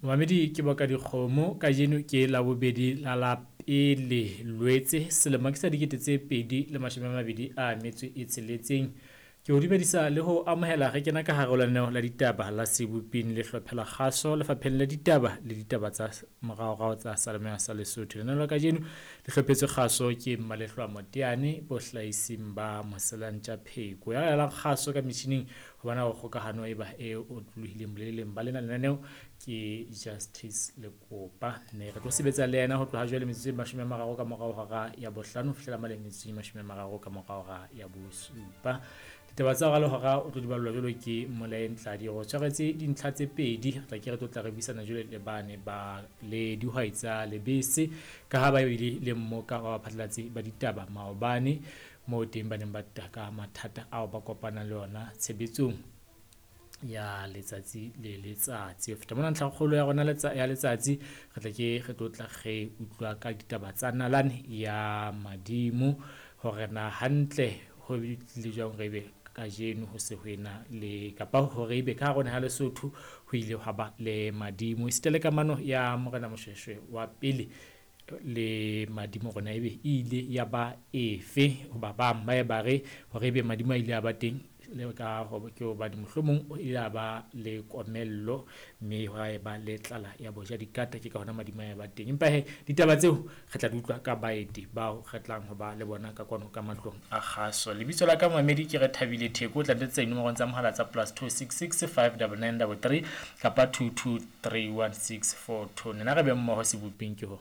Momamedi ke boka dikgomo kajeno ke Labobedi la la pele Lwetse selemo ke sa 2026. Ke o dumedisa le ho amohela re kena ka hare ho lenaneo la ditaba la Seboping le hlophe la kgaso lefapheng la ditaba le ditaba tsa moraorao tsa Seyalemoya sa Lesotho. Lenaneo la kajeno le hlophetswe kgaso ke Mmalehlwa Moteane bohlahising ba Moselantja Pheko. Ya laelang kgaso ka metjhining ho bona hore kgokahano e ba e otlolohileng boleleng ba lena lenaneo ke Justice Lekopa. Mme re tlo sebetsa le yena ho tloha jwale metsotso e 30 ka morao hora ya bohlano ho fihlela mane metsotso e 30 ka morao hora ya bosupa. Ditaba tsa hora le hora o tlo di ballwa jwalo ke Molaeng Tladi. Re tshwaretse dintlha tse pedi, re tla ke re tlo tla re buisana jwale le bane ba le dihwai tsa lebese ka ha ba bile le mmoka wa baphatlalatsi ba ditaba maobane moo teng ba neng ba taka mathata ao ba kopanang le ona tshebetsong ya letsatsi le letsatsi. Ho feta mona ntlhakgolo ya rona ya letsatsi re tla ke re tlo tla re utlwa ka ditaba tsa nalane ya madimo hore na hantle ho tlile jwang re be kajeno ho se ho ena le kapa hore ebe ka hare ho naha ya Lesotho ho ile hwa ba le madimo. Esita le kamano ya Morena Moshoeshoe wa pele le madimo rona ebe e ile ya ba efe, hoba bang ba ye ba re hore ebe madimo a ile a ba teng le ka ke hobane mohlomong o ile a ba le komello mme hwa e ba le tlala ya boja dikata, ke ka hona madimo a ba teng. Empa he ditaba tseo re tla di utlwa ka baeti bao re tlang ho ba le bona ka kwano ka matlong a kgaso. Lebitso la ka momamedi ke Rethabile Theko, o tla ntetsa dinomorong tsa mohala tsa +266 59933 kapa 2231642. Nna re be mmoho seboping ke ho.